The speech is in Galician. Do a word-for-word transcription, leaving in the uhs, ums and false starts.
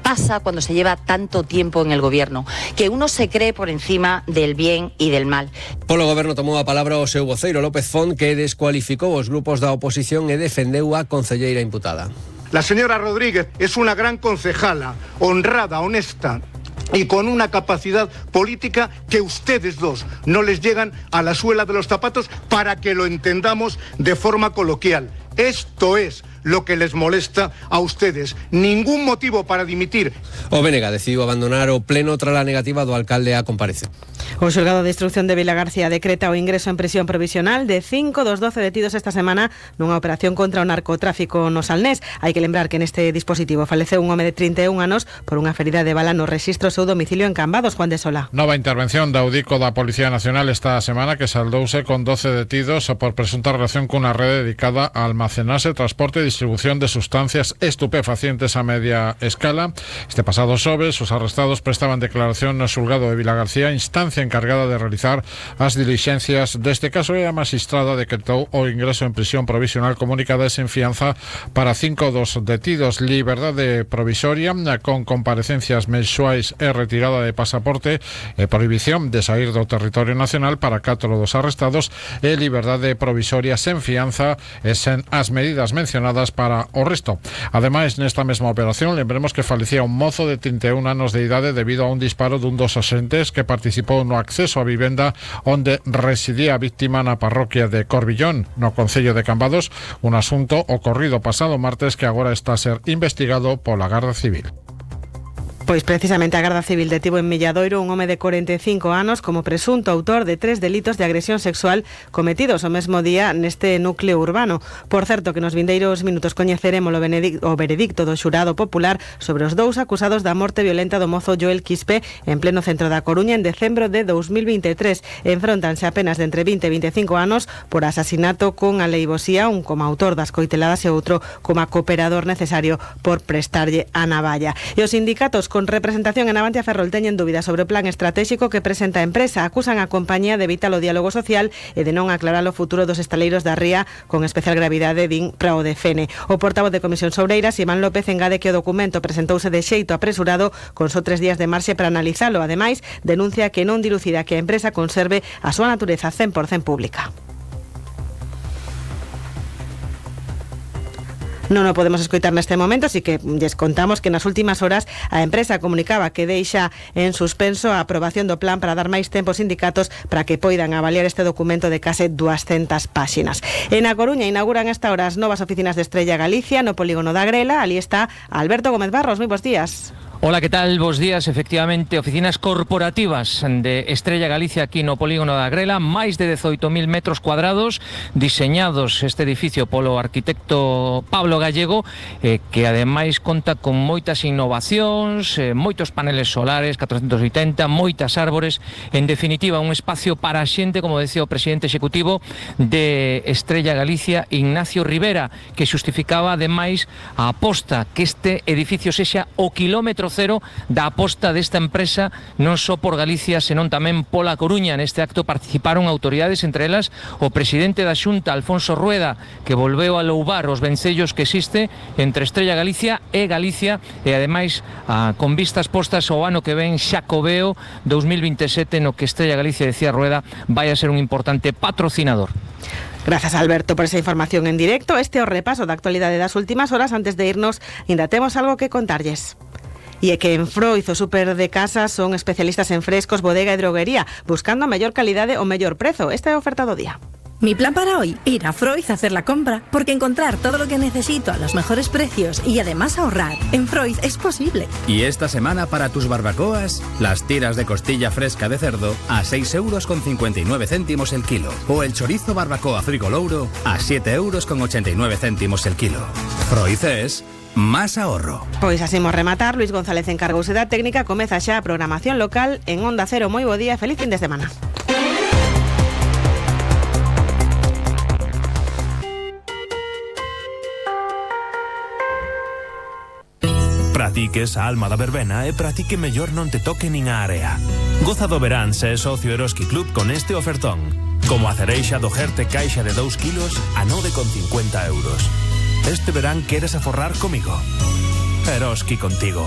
pasa cuando se lleva tanto tiempo en el gobierno, que uno se cree por encima del bien y del mal. Polo goberno tomou a palabra o seu voceiro López Font, que descualificou os grupos da oposición e defendeu a concelleira imputada. La señora Rodríguez es una gran concejala, honrada, honesta y con una capacidad política que ustedes dos no les llegan a la suela de los zapatos, para que lo entendamos de forma coloquial. Esto es lo que les molesta a ustedes. Ningún motivo para dimitir. O B N G decidiu abandonar o pleno tras a negativa do alcalde a comparecer. O xulgado de instrucción de Vilagarcía decreta o ingreso en prisión provisional de cinco dos doce detidos esta semana nunha operación contra o narcotráfico no Salnés. Hai que lembrar que neste dispositivo faleceu un home de trinta e un anos por unha ferida de bala no rexistro seu domicilio en Cambados. Juan de Sola. Nova intervención da Audico da Policía Nacional esta semana, que saldouse con doce detidos por presunta relación cunha rede dedicada a almacenarse, transporte e distribución de sustancias estupefacientes a media escala. Este pasado xoves, os arrestados prestaban declaración no xulgado de Vilagarcía, instancia encargada de realizar as dilixencias deste caso, e a magistrada decretou o ingreso en prisión provisional comunicada e sen fianza para cinco dos detidos, liberdade provisoria con comparecencias mensuais e retirada de pasaporte e prohibición de sair do territorio nacional para catro dos arrestados, e liberdade provisoria sen fianza e sen as medidas mencionadas para o resto. Ademais, nesta mesma operación, lembremos que falecía un mozo de trinta e un anos de idade debido a un disparo dun dos axentes que participou no acceso á vivenda onde residía a víctima na parroquia de Corbillón, no concello de Cambados, un asunto ocorrido pasado martes que agora está a ser investigado pola Garda Civil. Pois precisamente a Garda Civil detivo en Milladoiro un home de corenta e cinco anos como presunto autor de tres delitos de agresión sexual cometidos o mesmo día neste núcleo urbano. Por certo, que nos vindeiros minutos coñeceremos o, o veredicto do xurado popular sobre os dous acusados da morte violenta do mozo Joel Quispe en pleno centro da Coruña en decembro de dos mil vinte e tres. Enfróntanse apenas de entre vinte e veinticinco anos por asasinato con aleivosía, un como autor das coiteladas e outro como cooperador necesario por prestarlle a navalla. E os sindicatos con representación en Avantia Ferrol teñen dúbidas sobre o plan estratégico que presenta a empresa. Acusan a compañía de evitar o diálogo social e de non aclarar o futuro dos estaleiros da ría, con especial gravidade din para o D F N. O portavoz de Comisión Sobreiras, Iván López, engade que o documento presentouse de xeito apresurado con só tres días de marxe para analizalo. Ademais, denuncia que non dilucida que a empresa conserve a súa natureza cen por cento pública. Non o podemos escoitar neste momento, así que lles contamos que nas últimas horas a empresa comunicaba que deixa en suspenso a aprobación do plan para dar máis tempo aos sindicatos para que poidan avaliar este documento de case duascentas páxinas. En A Coruña inauguran esta hora as novas oficinas de Estrella Galicia no polígono da Grela. Ali está Alberto Gómez Barros. Moi bons días. Hola, ¿qué tal? Bos días. Efectivamente, oficinas corporativas de Estrella Galicia aquí no polígono da Grela, máis de dezoito mil metros cuadrados, diseñados este edificio polo arquitecto Pablo Gallego, eh, que ademais conta con moitas innovacións, eh, moitos paneles solares, catrocentos oitenta, moitas árbores, en definitiva, un espacio para a xente, como decía o presidente executivo de Estrella Galicia, Ignacio Rivera, que xustificaba ademais a aposta que este edificio sexa o kilómetro cero da aposta desta empresa non só por Galicia, senón tamén pola Coruña. Neste acto participaron autoridades, entre elas o presidente da Xunta, Alfonso Rueda, que volveu a louvar os vencellos que existe entre Estrella Galicia e Galicia, e ademais a, con vistas postas ao ano que ven Xacobeo dos mil vinte e sete, no que Estrella Galicia, decía Rueda, vai a ser un importante patrocinador. Gracias, Alberto, por esa información en directo. Este é o repaso da actualidade das últimas horas. Antes de irnos, ainda temos algo que contarlles. E é que en Froiz, o super de casa, son especialistas en frescos, bodega e droguería, buscando a mellor calidade o mellor prezo. Esta é a oferta do día. Mi plan para hoy, ir a Froiz a hacer la compra, porque encontrar todo lo que necesito a los mejores precios y además ahorrar en Froiz es posible. Y esta semana para tus barbacoas, las tiras de costilla fresca de cerdo a seis euros con cincuenta y nueve céntimos el kilo, o el chorizo barbacoa frigolouro a siete euros con ochenta y nueve céntimos el kilo. Froiz es más ahorro. Pois así imos rematar. Luis González encargouse da técnica. Comeza xa a programación local en Onda Cero. Moi bo día, feliz fin de semana. Practiques a alma da verbena e practique mellor non te toque nin a area. Goza do verán se é socio Eroski Club con este ofertón. Como a cereixa do Gerte caixa de dous kilos a nove con cincuenta euros. Este verán queres aforrar comigo. Eroski contigo.